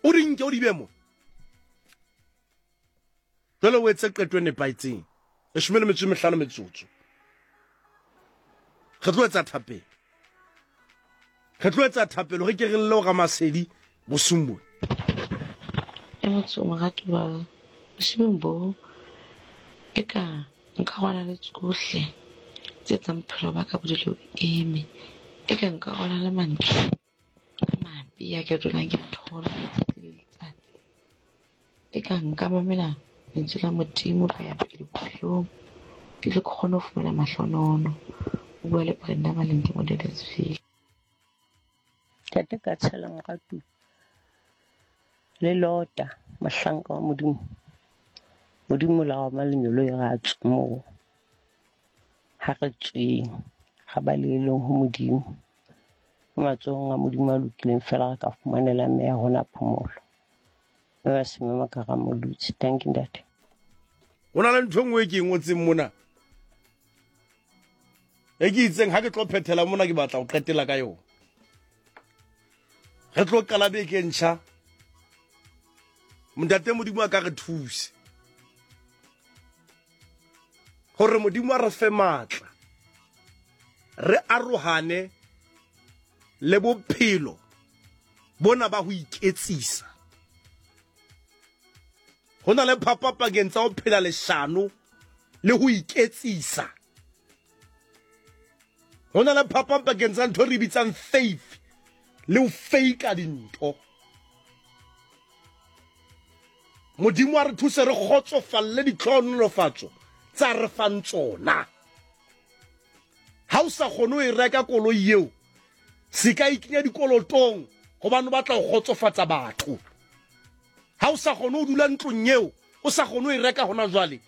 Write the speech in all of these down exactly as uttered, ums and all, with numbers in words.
O di nke o di be mo. Jwale o etse qeto e nepahetseng. Leshome le metso e mehlano metsotso. Re tlo etsa thapelo. Re tlo etsa thapelo re ke re lle ho Ramasedi bosiung bona. E motho moratuwa, bosiung bo eka nka rwala le tsohle tse etsang bophelo ba ka bo dule bo eme. Eka nka rwala le mantswe a mabe a ke dulang ke a thola letsatsi le letsatsi. Eka nka mamela lentswe la Modimo ka ya pele bophelong, ke tle ke kgone ho fumana mahlonono. O bua le Brenda Malindi mo Deadesville. Ntate ka tshela moratuwa le Lota, mohlanka wa Modimo. Modimo la wa lenyolo e ra tswa moo. Ha re tsweng, ga ba leleng ho Modimo. Matsohong a Modimo a lokileng fela re ka fumanela mme ya rona phomolo. Mme ba semema ka Ramolutsi. Thank you, ntate. Ho na le ntho e nngwe e ke e ngotseng mona. E ke itseng ha ke tlo phethela mona ke batla ho qetela ka yona. Re tlo qala beke e ntjha. Ntate Modimo a ka re thuse. Hore Modimo a re fe matla. Re arohane le bophelo bona ba ho iketsisa. Ho na le phapang pakeng tsa ho phela leshano le ho iketsisa. Ho na le phapang pakeng tsa ntho e re bitsang faith le ho fake-a dintho. Modimo a re thuse re kgotsofalle ditlhohonolofatso tsa re fang tsona. Ha o sa kgone ho e reka koloi eo, se ka ikenya dikolotong hobane o batla ho kgotsofatsa batho. Ha o sa kgone ho dula ntlong eo, o sa kgone ho e reka hona jwale,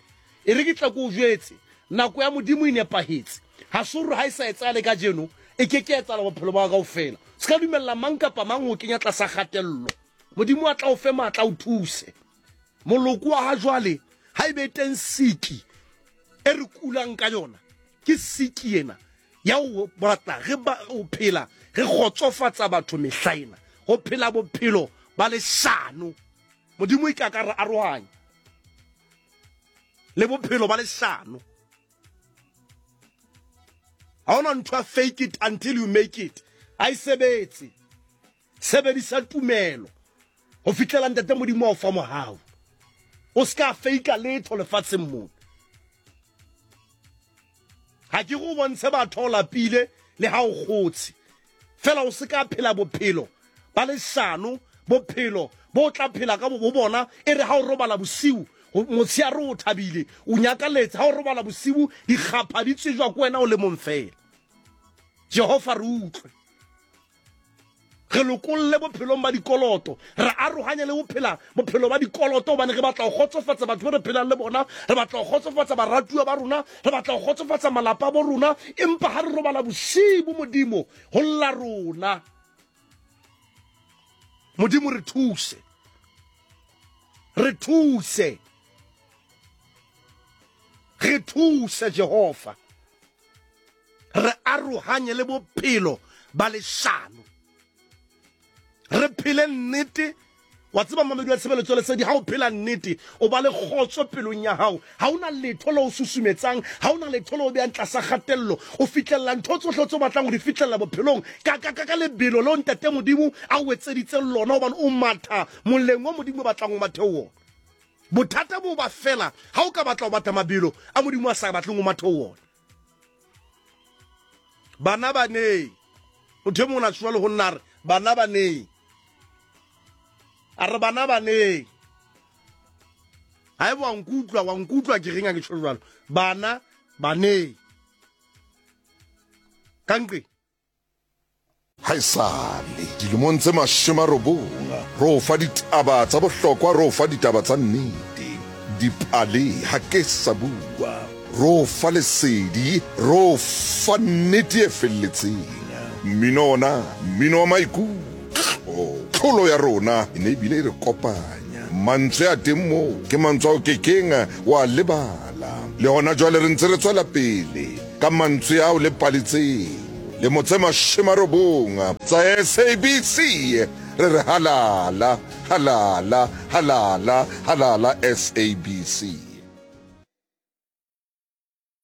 e re ke tla ke o jwetse, nako ya Modimo e nepahetse. Ha se hore ha e sa etsahale kajeno, e ke ke etsahala bophelo ba hao kaofela. Se ka dumella mang kapa mang ho kenya tlasa kgatello. Modimo a tla o fe matla, o thuse. Moloko wa ha jwale, ha ebe teng siki e re kulang ka yona, ke siki ena ya ho batla re ba ho phela re kgotsofatsa batho mehla ena, ho phela bophelo ba leshano. Modimo e ka ka re arohanya le bophelo ba leshano. Ha hona ntho ya fake it until you make it. Ha e sebetse. Sebedisa tumelo ho fihlela Ntate Modimo a o fa mohau. O ska fake letho lefatsheng mona. Ha ke go bontshe batho o lapile le ha o kgotse. Fela o se ka phela bophelo ba leshano, bophelo bo tla phela ka bo bona e re ha o robala bosiu, motsheare o thabile, o nyakaletse. Ha o robala bosiu, dikgapha di tsejwa ke wena o le mong fela. Jehova re utlwe. Re lokolle bophelong ba dikoloto, re arohanye le ho phela bophelo ba dikoloto hobane re batla ho kgotsofatsa batho ba re phelang le bona, re batla ho kgotsofatsa baratuwa ba rona, re batla ho kgotsofatsa malapa a bo rona, empa ha re robala bosiu Modimo ho lla rona. Modimo re thuse. Re thuse. Re thuse Jehova. Re arohanye le bophelo ba leshano. Re phele nnete. Wa tseba mamedi wa tshebeletso lesedi, ha o phela nnete o ba le kgotso pelong ya hao. Ha ona letho le o susumetsang, ha ona letho le o behang tlasa kgatello. O fihlella ntho tsohle tse o batlang ho di fihlella bophelong ka ka ka ka lebelo leo Ntate Modimo a o etseditseng lona, hobane o matha moleng o Modimo o batlang o mathe ho wona. Bothata bo ba fela ha o ka batla ho batla mabelo a Modimo a sa batleng o mathe ho wona. Bana ba neng, motho e mong o na tsoha le ho nna a re bana ba neng, a re bana ba neng. Ha eba wa nkutlwa, wa nkutlwa ke reng ha ke tjho jwalo. Bana ba neng. Ka nqe. Haesale dilemong tse mashome a robong, re o fa ditaba tsa bohlokwa, re o fa ditaba tsa nnete. Dipale ha ke sa bua, re o fa lesedi, re o fa nnete e felletseng. Mmino ona, mmino wa maikutlo. Tlholo ya rona e ne ebile e re kopanya. Mantswe a teng moo ke mantswe ao kekeng wa lebala. Le hona jwale re ntse re tswela pele ka mantswe ao le paletseng. Le motse mashome a robong tsa S A B C. Re re halala, halala, halala, halala S A B C.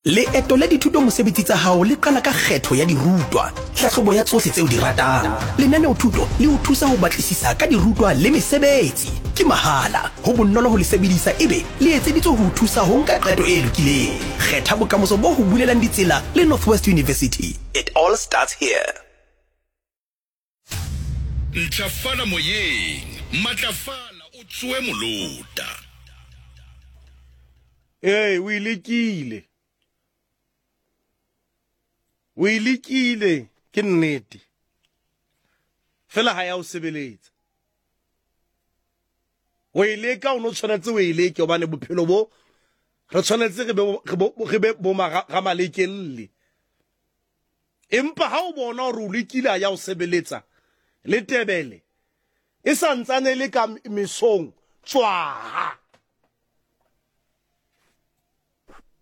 Leeto la dithuto mosebetsi tsa hao le qala ka kgetho ya dirutwa, tlhahlobo ya tsohle tseo di ratang. Lenaneo thuto le o thusa ho batlisisa ka dirutwa le mesebetsi. Ke mahala, ho bonolo ho le sebedisa ebe le etseditswe ho o thusa ho nka qeto e lokileng. Kgetha bokamoso bo ho bulelang ditsela le Northwest University. It all starts here. Ntlafala moyeng, matlafala o tsoe molota. Ee, o e lekile. O e lekile, ke nnete. Fela ha ya o sebeletsa. O e leka, o no tshwanetse o e leke hobane bophelo bo re tshwanetse re be re be bo ramalekelle. Empa ha o bona hore o lekile ha ya o sebeletsa le tebele e sa ntsane le ka mesong, tswaha.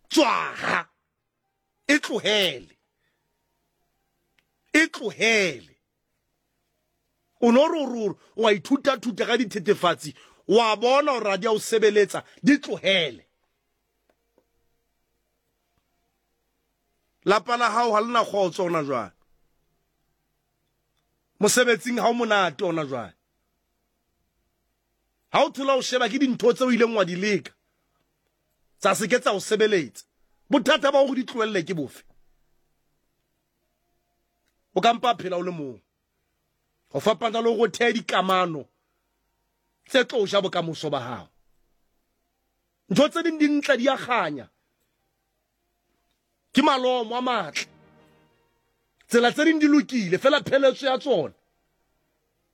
Tswaha. E tlohele. E tlohele. O no re o wa ithuta thuta ka dithethefatsi, wa bona hore ha di a o sebeletsa, di tlohele. Lapa la hao ha le na kgotso hona jwale. Mosebetsing ha o monate hona jwale. Ha o thola o sheba ke dintho tseo o ileng wa di leka, tsa se ke tsa o sebeletsa. Bothata ba hore di tlohelle ke bofe? O ka mpa phela o le mong. Ho fapana le hore o thehe dikamano tse tlo ja bokamoso ba hao. Ntho tse ding di ntle di a kganya. Ke malomo a matle. Tsela tse ding di lokile, fela pheletso ya tsona.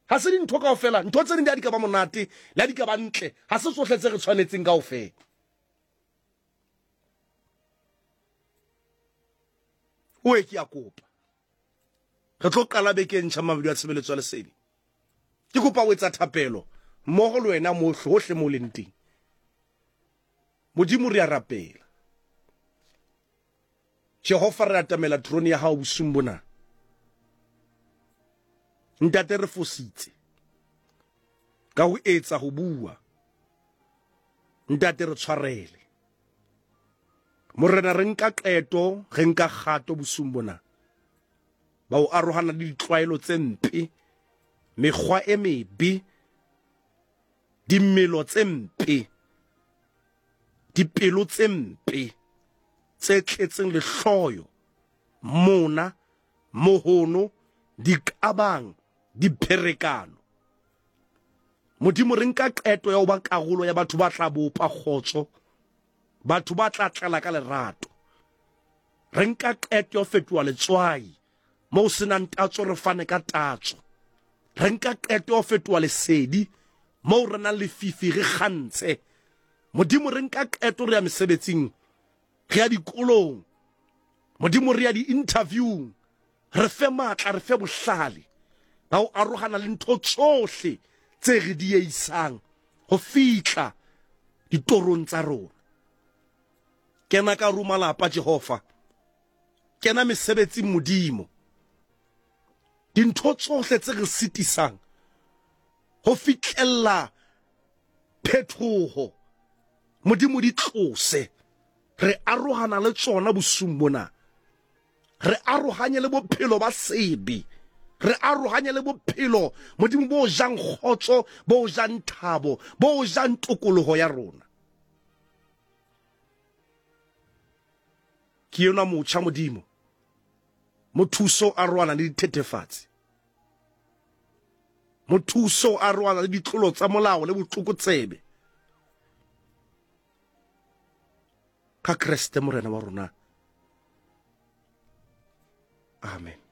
Ha se dintho kaofela, ntho tse ding di a di ka ba monate, le ha di ka ba ntle, ha se tsohle tse re tshwanetseng kaofela. O e ke a kopa. Re tlo qala beke e ntjha mabedi a tshebeletso ya lesedi. Ke kopa o etsa thapelo mmogo le wena mo hohle mo leng teng. Modimo re a rapela. Jehova re atamela trone ya hao bosiung bona. Ntate re fositse ka ho etsa ho bua. Ntate re tshwarele. Morena re nka qeto, re nka kgato bosiung bona. Ba o arohana le ditlwaelo tse mpe, mekgwa e mebe, dimelo tse mpe, dipelo tse mpe tse tletseng lehloyo, mona, mohono, diqabang, dipherekano. Modimo re nka qeto ya ho ba karolo ya batho ba tla bopa kgotso, batho ba tla tlala ka lerato. Re nka qeto ya ho fetoha letswai moo senang tatso, re fane ka tatso. Re nka qeto ya ho fetoha lesedi moo re nang lefifi, re kgantshe. Modimo re nka qeto re ya mesebetsing, re ya dikolong, Modimo re ya di-interviewng. Re fe matla, re fe bohlale ba ho arohana le ntho tsohle tse re dieisang ho fihla ditorong tsa rona. Kena ka hare malapa Jehova, kena mesebetsing Modimo. Dintho tsohle tse re sitisang ho fihlella phetoho, Modimo di tlose. Re arohana le tsona bosiung bona. Re arohanye le bophelo ba sebe. Re arohanye le bophelo Modimo bo jang kgotso, bo jang thabo, bo jang tokoloho ya rona. Ke yona motjha Modimo, mothuso a roana le dithethefatsi, mothuso a roana le ditlolo tsa molao le botlokotsebe. Ka Kreste Morena wa rona. Amen.